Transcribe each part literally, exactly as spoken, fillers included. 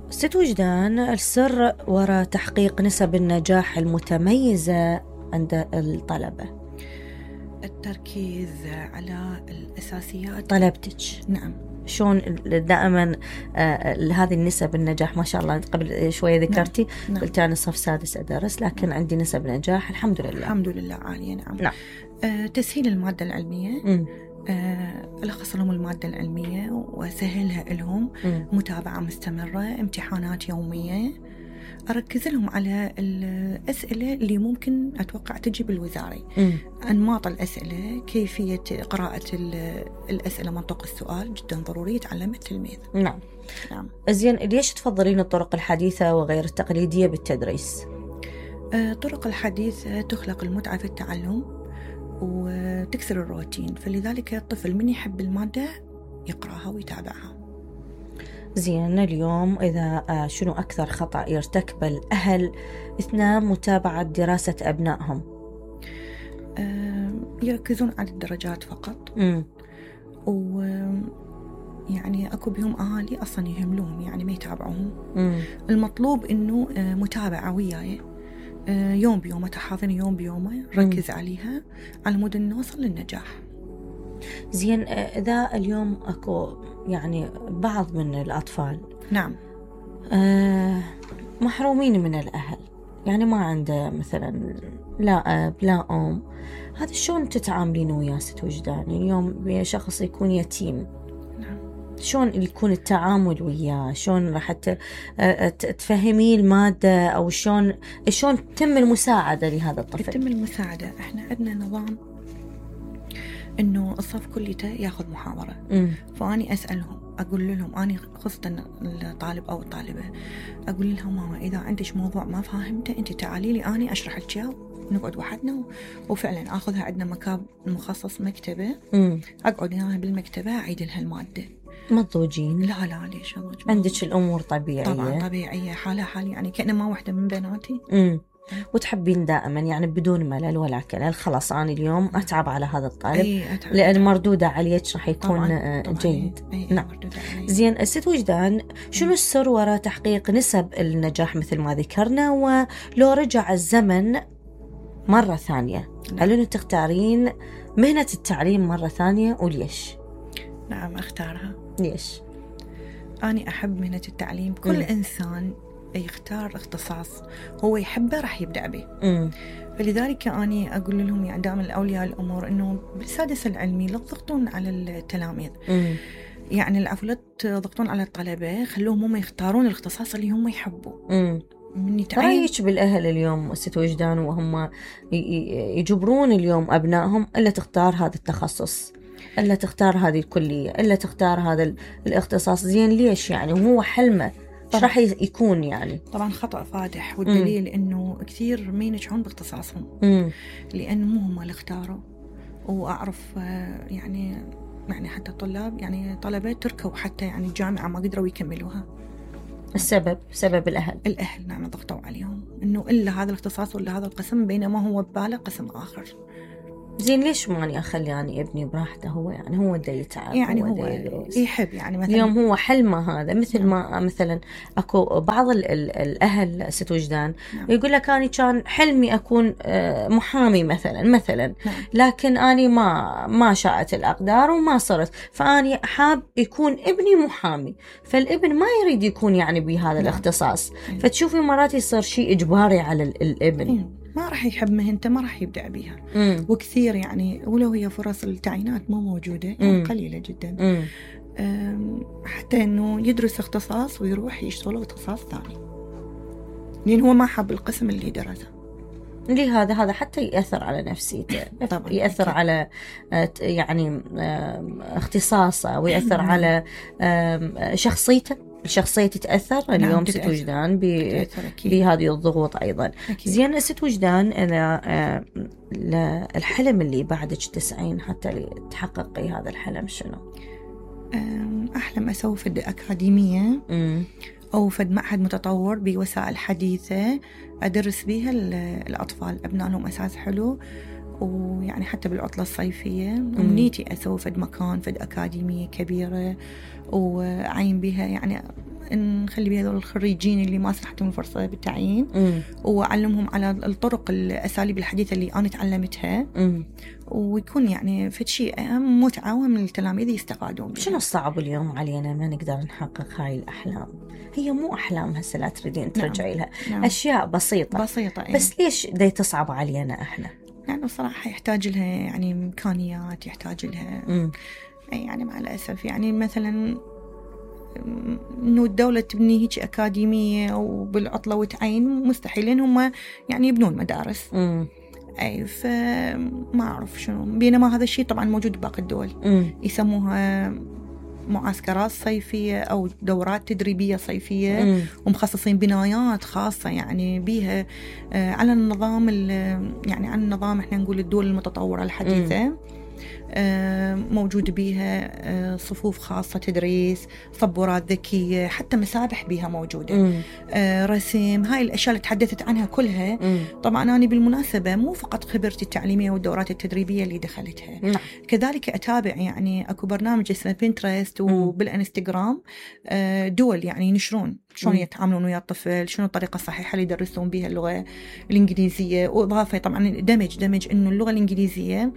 ست وجدان، السر وراء تحقيق نسب النجاح المتميزة عند الطلبة؟ التركيز على الأساسيات. طلبتك نعم. شلون دائما آه هذه النسب النجاح؟ ما شاء الله قبل شوية ذكرتي نعم. قلت أنا صف سادس أدرس لكن عندي نسب نجاح الحمد لله. الحمد لله عالية. نعم. نعم. آه تسهيل المادة العلمية. م. آه ألخص لهم المادة العلمية وأسهلها لهم. م. متابعة مستمرة، امتحانات يومية، أركز لهم على الأسئلة اللي ممكن أتوقع تجي بالوزاري. م. أنماط الأسئلة، كيفية قراءة الأسئلة، منطق السؤال جدا ضروري يتعلم التلميذ. نعم. نعم. زين، ليش تفضلين الطرق الحديثة وغير التقليدية بالتدريس؟ الطرق آه الحديثة تخلق المتعة في التعلم وتكسر الروتين، فلذلك الطفل من يحب المادة يقرأها ويتابعها. زين، اليوم إذا شنو أكثر خطأ يرتكب الأهل أثناء متابعة دراسة أبنائهم؟ يركزون على الدرجات فقط. م. و يعني أكو بهم أهالي أصلا يهملوهم، يعني ما يتابعوهم. م. المطلوب إنه متابعة وياي يوم بيومه، تحاضن يوم بيومه، ركز عليها على مود نوصل للنجاح. زين، إذا اليوم أكو يعني بعض من الأطفال نعم آه محرومين من الأهل، يعني ما عنده مثلا لا أب لا أم، هذا شلون تتعاملين وياه ست وجدان؟ اليوم شخص يكون يتيم، نعم، شلون يكون التعامل وياه؟ شلون راح تفهميه المادة، أو شلون شلون تتم المساعدة لهذا الطفل؟ تتم المساعدة، احنا عندنا نظام إنه الصف كليته ياخذ محاضرة. م. فأني أسألهم، أقول لهم أني خصوصا الطالب أو الطالبة، أقول لهم ماما إذا عندك موضوع ما فاهمته أنت تعالي لي أني أشرح لك إياه، نقعد وحدنا. وفعلا أخذها عندنا مكان مخصص مكتبة. م. أقعد هنا بالمكتبة أعيد لها المادة. مضوجين؟ لا لا ليش عندك الأمور طبيعية؟ طبعا طبيعية، حالة حالي، يعني كأنه ما واحدة من بناتي. م. وتحبين دائما يعني بدون ملل ولا كلل، خلاص أنا اليوم أتعب على هذا الطالب أي لأن مردودة عليك راح يكون طبعاً طبعاً جيد. أي نعم. زين، ست وجدان، شنو السر وراء تحقيق نسب النجاح مثل ما ذكرنا؟ ولو رجع الزمن مرة ثانية، هل أنت تختارين مهنة التعليم مرة ثانية وليش؟ نعم أختارها. ليش؟ أنا أحب مهنة التعليم. كل م. إنسان يختار اختصاص هو يحبه راح يبدأ به. م. فلذلك أنا أقول لهم يعني دائما الأولياء الأمور إنه بالسادس العلمي لا تضغطون على التلاميذ. م. يعني العفو لا تضغطون على الطلبة، خلوهم هم يختارون الاختصاص اللي هم يحبوا. رأيك بالأهل اليوم ست وجدان وهم يجبرون اليوم أبنائهم إلا تختار هذا التخصص، إلا تختار هذه الكلية، إلا تختار هذا الاختصاص؟ زين ليش يعني؟ وهو حلمه ايش راح يكون يعني؟ طبعا خطأ فادح، والدليل مم. انه كثير ما ينجحون باختصاصهم لان مو هم اللي اختاروا. واعرف يعني يعني حتى طلاب يعني طلبات تركوا حتى يعني الجامعة ما قدروا يكملوها. السبب سبب الاهل الاهل نعم، ضغطوا عليهم انه الا هذا الاختصاص ولا هذا القسم، بينما هو بباله قسم اخر. زين ليش ماني أخلي يعني ابني براحته؟ هو يعني هو دا يتعب، يعني هو, هو يحب يعني مثلا اليوم هو حلمه هذا. مثل نعم. ما مثلا أكو بعض ال ال الأهل ست وجدان نعم. يقول لك أنا كان حلمي أكون محامي مثلا مثلا نعم. لكن أنا ما ما شاءت الأقدار وما صرت، فأني حاب يكون ابني محامي، فالابن ما يريد يكون يعني بهذا نعم. الاختصاص نعم. فتشوفي مرات يصير شيء إجباري على الابن. نعم. ما راح يحب مهنته ما راح يبدأ بيها. مم. وكثير يعني ولو هي فرص التعيينات مو موجودة يعني قليلة جدا، حتى انه يدرس اختصاص ويروح يشتغل اختصاص ثاني لأن هو ما حب القسم اللي درسه. لهذا هذا حتى يأثر على نفسيته، يأثر أكيد. على يعني اختصاصه، ويأثر مم. على شخصيته، الشخصية تتأثر. نعم اليوم ست وجدان بهذه الضغوط أيضا. أكيد. زين ست وجدان، الحلم اللي بعدك تسعين حتى تحققي هذا الحلم شنو؟ أحلم أسوي فد أكاديمية م. أو فد معهد متطور بوسائل حديثة أدرس بيها الأطفال، أبناء لهم أساس حلو، ويعني حتى بالعطلة الصيفية أمنيتي أسوي فد مكان فد أكاديمية كبيرة وعين بها يعني نخلي بهذول الخريجين اللي ما سنحتهم الفرصة بالتعيين مم. وأعلمهم على الطرق الأساليب الحديثة اللي أنا تعلمتها. مم. ويكون يعني في شيء متعة من التلاميذ يستفادون. شنو الصعب اليوم علينا ما نقدر نحقق هاي الأحلام؟ هي مو أحلام هسه لا تريدين ترجعي لها. نعم. أشياء بسيطة بسيطة إيه. بس ليش دي تصعب علينا إحنا؟ يعني بصراحة يحتاج لها يعني إمكانيات، يحتاج لها مم. يعني مع الأسف يعني مثلا إنه الدولة تبني هيك أكاديمية وبالعطلة وتعين مستحيل، لأن هم يعني يبنون مدارس. مم. أي فما أعرف شنو، بينما هذا الشيء طبعا موجود بباقي الدول. مم. يسموها معسكرات صيفية أو دورات تدريبية صيفية. مم. ومخصصين بنايات خاصة يعني بيها على النظام يعني عن النظام احنا نقول الدول المتطورة الحديثة. مم. موجود بيها صفوف خاصة تدريس، صبورات ذكية، حتى مسابح بيها موجودة. مم. رسم، هاي الأشياء اللي تحدثت عنها كلها. مم. طبعا أنا بالمناسبة مو فقط خبرتي التعليمية والدورات التدريبية اللي دخلتها. مم. كذلك أتابع يعني أكو برنامج اسمه بنترست وبالانستغرام دول يعني ينشرون شلون يتعاملون ويا الطفل، شنو الطريقة الصحيحة اللي يدرسون بها اللغة الإنجليزية. وإضافة طبعا دمج دمج إنه اللغة الإنجليزية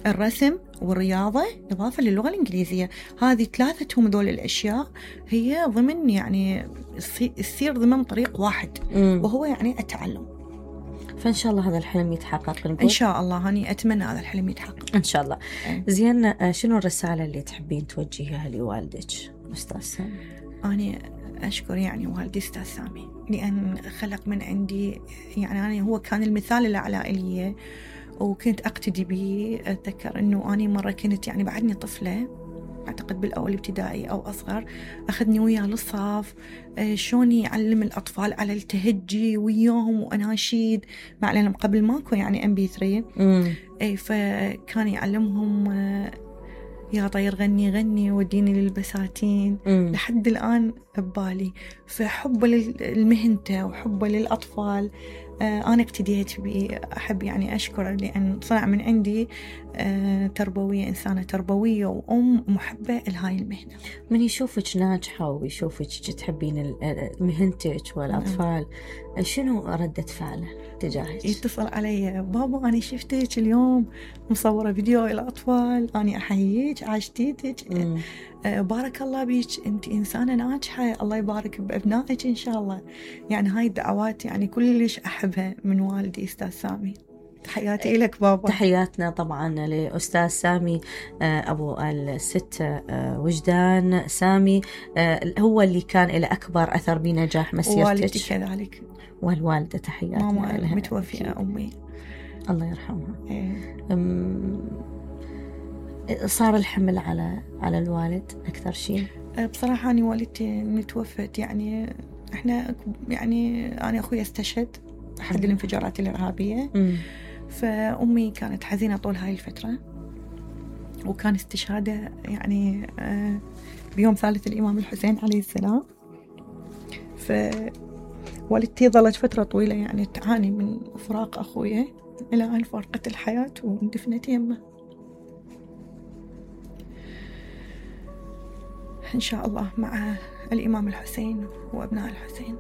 الرسم والرياضة إضافة للغة الإنجليزية، هذه ثلاثتهم دول الأشياء هي ضمن يعني يصير ضمن طريق واحد. مم. وهو يعني التعلم. فإن شاء الله هذا الحلم يتحقق نقول. إن شاء الله هاني أتمنى هذا الحلم يتحقق إن شاء الله. أي. زين شنو الرسالة اللي تحبين توجهيها لوالدك أستاذ سامي؟ أنا أشكر يعني والدي أستاذ سامي لأن خلق من عندي يعني أنا هو كان المثال الأعلى لي وكنت أقتدي به. أتذكر أنه أنا مرة كنت يعني بعدني طفلة أعتقد بالأول ابتدائي أو أصغر، أخذني وياه للصف شلون يعلم الأطفال على التهجي وياهم وأناشيد مع لأنهم قبل ماكو يعني إم بي ثري. أي فكان يعلمهم يا طير غني غني وديني للبساتين. مم. لحد الآن ببالي. فحبه للمهنته وحبه للأطفال آه أنا اقتديت به. أحب يعني أشكر لأن صنع من عندي آه تربوية، إنسانة تربوية وأم محبة لهاي المهنة. من يشوفك ناجحة ويشوفك تحبين مهنتك والأطفال مم. شنو ردة فعله تجاهك؟ يتصل علي بابا أنا شفتك اليوم مصورة فيديو الأطفال، أنا أحييك عاشتيتك آه بارك الله بيك، أنت إنسانة ناجحة، الله يبارك بأبنائك إن شاء الله. يعني هاي الدعوات يعني كلش أحبها من والدي أستاذ سامي. تحياتي لك بابا. تحياتنا طبعا لأستاذ سامي أبو الست وجدان سامي، هو اللي كان له أكبر أثر بنجاح مسيرتك. والدتي كذلك والوالدة تحياتنا ماما متوفية أمي الله يرحمها. إيه. صار الحمل على على الوالد أكثر شيء؟ بصراحة أنا والدتي متوفت يعني إحنا يعني أنا أخوي استشهد أحد الانفجارات الإرهابية. م. فأمي كانت حزينة طول هاي الفترة، وكان استشهاده يعني بيوم ثالث الإمام الحسين عليه السلام. فوالدتي ظلت فترة طويلة يعني تعاني من فراق أخويا إلى أن فارقت الحياة واندفنت يمه. إن شاء الله مع الإمام الحسين وأبناء الحسين.